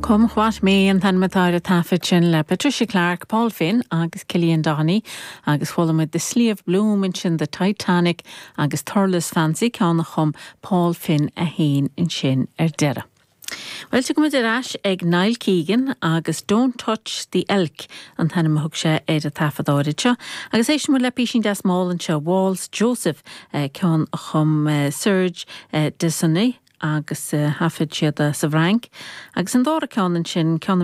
Come What May an t-ainm atá ar an taifead sin le Patricia Clarke, Paul Finn agus Cillian Doheny agus chuala muid The Slieve Bloom ansin, The Titanic agus Thurles Fancy, ceann a chum Paul Finn é féin ansin ar deireadh. Bhuel, tiocfaidh muid ar ais ag Niall Keegan agus Don't Touch the Elk an t-ainm a thug sé ar an taifead áirid seo agus éistfidh muid le písín deas mall anseo, Waltz Joseph, ceann a chum Serge Desonay agus thaifead siad é sa bhFrainc agus an dara ceann ansin, ceann a bhí.